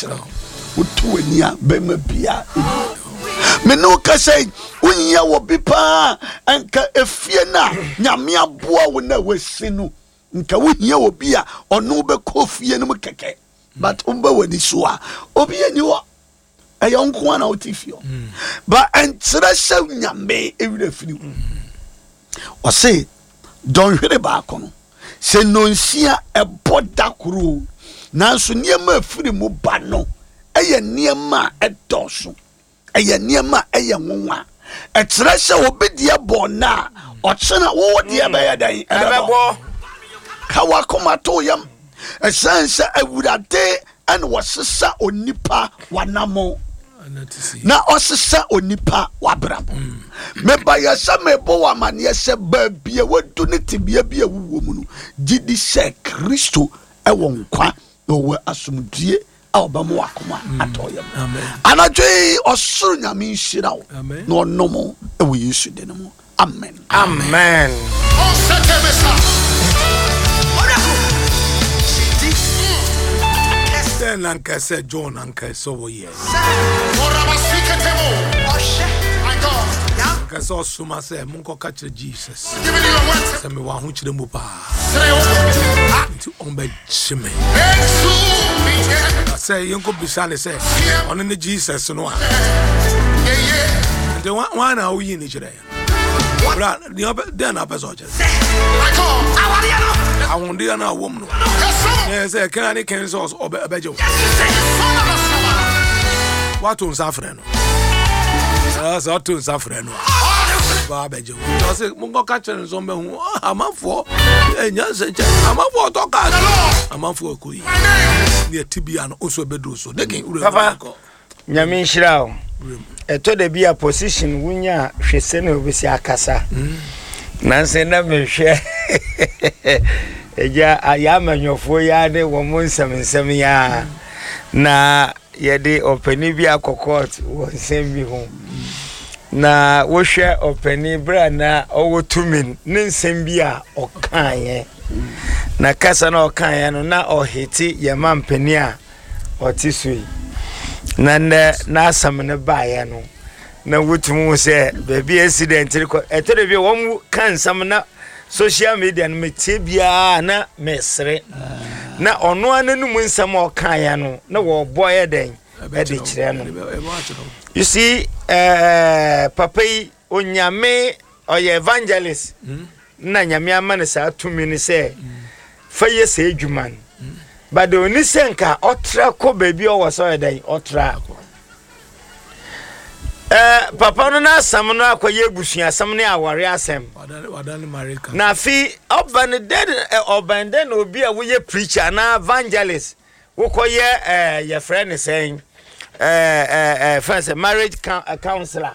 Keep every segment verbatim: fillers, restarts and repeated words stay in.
kyerɛ wo. Woto w'ani a, bɛrima bia me ne wo kasa yi, wonyia wɔ bi paa. Nka efie no a Nyame aboa wo na wasi no, nka wohia wɔ bi a ɔno wobɛkɔ fie no mu kɛkɛ, but wobɛ w'ani so a, obi ani hɔ. Ɛyɛ wo nko a na wote fie hɔ, but ɛnkyerɛ sɛ Nyame ɛwerɛ firi wo. Ɔse dɔnhwere baako no sɛ nnɔnsia ɛbɔ da koro, nanso nneɛma afiri mu ba no ɛyɛ nneɛma a ɛdɔɔso, ɛyɛ nneɛma a ɛyɛ nwonwa. Ɛkyerɛ sɛ obi deɛ bɔ na a ɔkyena wowɔ deɛ bɛyɛ dɛn? Ɛbɛbɔ. Ka wakoma to yam, ɛsiane sɛ Awurade ɛna wɔsesa onipa wanamo na ɔsesa onipa wabrabɔ. Mebayɛ sɛ mebɔ wɔ amanneɛ sɛ baabi a wadu ne tebea bi a wowɔ mu no, gye di sɛ Kristo ɛwɔ nkwa na ɔwɔ asomdue a ɔbɛma wakoma atɔ yam. Anadwo yi, ɔsoro Nyame nhyira wo na ɔnom ɛwɔ Yesu de no mu. Amen. Amen. Dɛn na nka sɛ John anka sɛ wɔyɛ nka sɛ ɔsoma sɛ monkɔka kyerɛ Jesus sɛ mewɔ ahokyerɛ mu paa, nti ɔmbɛgye me, na sɛ yɛnkɔbisa ne sɛ ɔno ne Jesus no a, nti wan na woyi ne kyerɛ bra? Dɛn na apɛ sɛ ɔkyerɛ ahodeɛ no a wɔm no na sɛ kɛn ne kɛn sɛ ɔbɛgye wo, woato nsa frɛ no, sɛ ɔto nsa frɛ no a, ba abɛgye wo. Ɔsɛ monkɔka kyerɛ no sɛ ɔmbɛhu amanfoɔ ɛnya nsɛnkyɛ, amanfoɔ ɔtɔ kaa, amanfoɔ ɛkɔ yi ne ɛte bia no nso ɛbɛduru so deken. Papa, Nyame nhyira wo. Ɛtɔ da bi a position wonya a, hwɛ sɛ na wobɛsi akasa. Nanso na mehwɛ agya ayɛ amanyɔfoɔ yi a ne wɔn mo nsɛm nsɛm yi a, na yɛde ɔpanin bi akɔ court wɔ nsɛm bi ho, na wohwɛ ɔpanin berɛ a na ɔwɔ tumi ne nsɛm bi a ɔkaeɛ, na kasa na ɔkaeɛ no na ɔhete yɛn ma mpanin a ɔte so yi, na nnɛ n'asɛm no baeɛ no, na wotumi hu sɛ baabi accident kɔ. Ɛtɔ da bi a wɔn ka nsɛm na social media no metie biara na mesere, na ɔno ara n'anum nsɛm a ɔkaeɛ no na wɔbɔ yɛ dɛn ɛde kyerɛ no. You see, ɛɛ papa yi, Onyame ɔyɛ evangelist na Nyame ama no saa tumi no sɛ fa yɛ sɛ adwuma no, but oni sɛ nka ɔtra kɔ baabi a ɔwɔ sɛ ɔyɛ dɛn ɔtra. Ɛɛ papa no n'asɛm no akɔyɛ abusuasɛm ne awɔre asɛm, na afei ɔba no dɛ ɔban dɛ na obi a woyɛ preacher anaa evangelist wokɔyɛ ɛɛ yɛfrɛ ne sɛn, ɛɛ ɛɛ fɛn sɛ marriage counselor.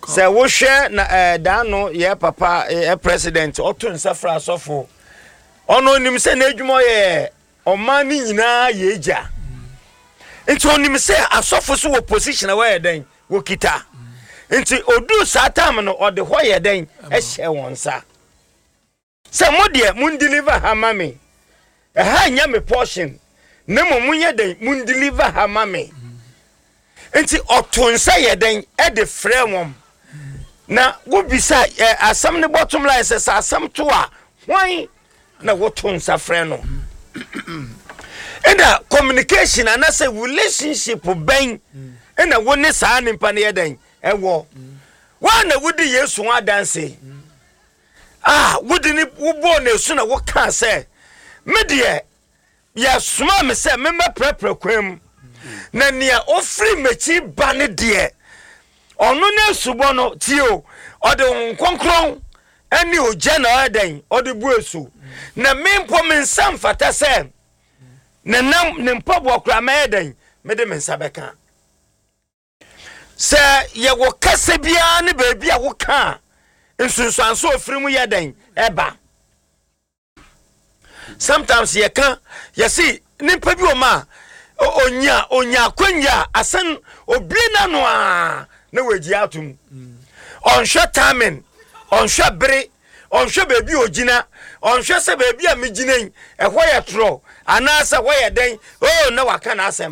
Sɛ wohwɛ na ɛɛ daano yɛ papa yɛ president ɔto nsa fra asɔfo, ɔno onim sɛ n'adwuma ɔyɛ ɔman no nyinaa yɛ egya, nti onim sɛ asɔfo so wɔ position a wɔyɛ dɛn wɔkita, nti odu saa time no ɔde hɔ yɛ dɛn ɛhyɛ wɔn nsa sɛ mo deɛ mo deliver ha ma me, ɛha nyɛ me portion, na mmom mo nyɛ dɛn mo deliver ha ma me. Nti ɔto nsa yɛ dɛn ɛde frɛ wɔn, na wobisa ɛ asɛm ne bottom line sɛ sɛ asɛm to a, hwan na woto nsa frɛ no? Ɛna communication anaasɛ relationship bɛn ɛna wo ne saa nipa no yɛ dɛn ɛwɔ? Wɔn na wodi Yesu ho adanse a wode ne wobɔɔ n'asu na wokaa sɛ me deɛ yɛsoma me sɛ memmɛprɛprɛ kwan mu, na nea ofiri m'akyi ba ne deɛ, ɔno ne asubɔ no tie o, ɔde Honhom Kronkron ɛne ogya na ɔyɛ dɛn ɔde bu esu, na me mpo me nsa mfata sɛ ne nam ne mpaboa koraa mɛyɛ dɛn mede me nsa bɛka. Sɛ yɛwɔ kasa biara ne baabi a woka a, nsunsuanso ofiri mu yɛ dɛn ɛba. Sometimes yɛka yɛsi nipa bi wɔ mu a onya onya akwanya a asan obie n'ano a na wagyi atom, ɔnhwɛ timing, ɔnhwɛ bere, ɔnhwɛ baabi a ogyina, ɔnhwɛ sɛ baabi a megyina yi ɛhɔ yɛ torɔ anaasɛ ɛhɔ yɛ dɛn oo, na waka n'asɛm.